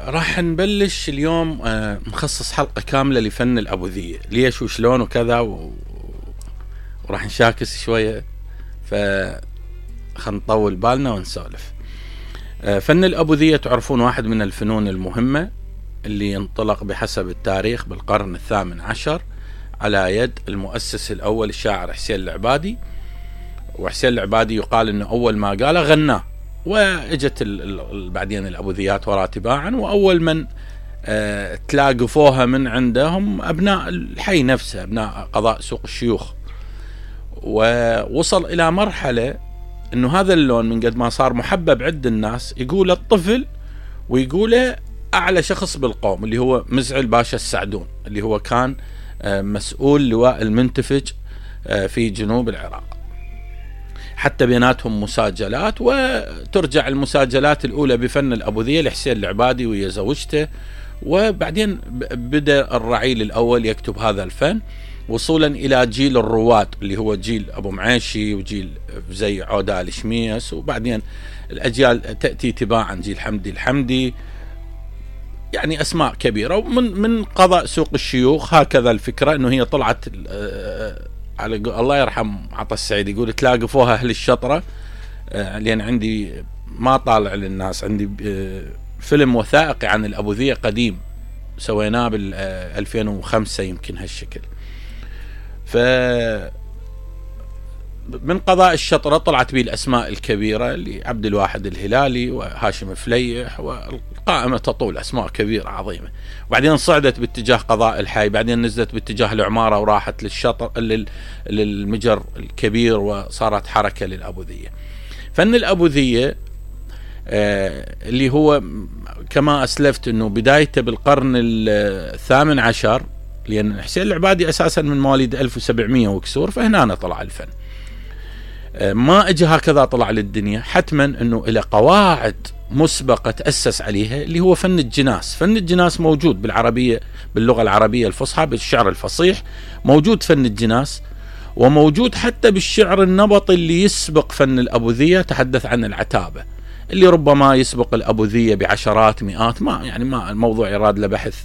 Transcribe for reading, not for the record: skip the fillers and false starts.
راح نبلش اليوم نخصص حلقة كاملة لفن الأبوذية، ليش وشلون وكذا وراح نشاكس شوية، نطول بالنا ونسولف. فن الأبوذية تعرفون واحد من الفنون المهمة اللي ينطلق بحسب التاريخ بالقرن 18 على يد المؤسس الأول الشاعر حسين العبادي. وحسين العبادي يقال أنه أول ما قاله غناه، واجت بعدين الأبوذيات وراء تباعا، وأول من تلاقفوها من عندهم أبناء الحي نفسه، أبناء قضاء سوق الشيوخ. ووصل إلى مرحلة أنه هذا اللون من قد ما صار محبب عند الناس يقول الطفل ويقوله أعلى شخص بالقوم، اللي هو مزعل باشا السعدون، اللي هو كان مسؤول لواء المنتفج في جنوب العراق. حتى بيناتهم مساجلات، وترجع المساجلات الأولى بفن الأبوذية لحسين العبادي ويا زوجته، وبعدين بدأ الرعيل الأول يكتب هذا الفن وصولا إلى جيل الرواد اللي هو جيل أبو معيشي وجيل زي عودة الشميس، وبعدين الأجيال تأتي تباعا، جيل حمدي الحمدي، يعني أسماء كبيرة. ومن قضاء سوق الشيوخ هكذا الفكرة أنه هي طلعت على الله يرحم عطا السعيد يقول تلاقفوها أهل الشطرة، لأن عندي ما طالع للناس، عندي فيلم وثائقي عن الأبوذية قديم سويناه بال 2005 يمكن هالشكل. من قضاء الشطرة طلعت به الأسماء الكبيرة اللي عبد الواحد الهلالي وهاشم فليح، والقائمة تطول، أسماء كبيرة عظيمة. وبعدين صعدت باتجاه قضاء الحي، بعدين نزلت باتجاه العمارة وراحت للشطر للمجر الكبير، وصارت حركة للأبوذية. فن الأبوذية اللي هو كما أسلفت أنه بدايته بالقرن 18، لأن حسين العبادي أساسا من مواليد 1700 وكسور، فهنا طلع الفن، ما اجى هكذا طلع للدنيا، حتما انه الى قواعد مسبقة تأسس عليها، اللي هو فن الجناس. فن الجناس موجود بالعربية، باللغة العربية الفصحى، بالشعر الفصيح موجود فن الجناس، وموجود حتى بالشعر النبطي اللي يسبق فن الأبوذية. تحدث عن العتابة اللي ربما يسبق الأبوذية بعشرات مئات، ما الموضوع يراد له بحث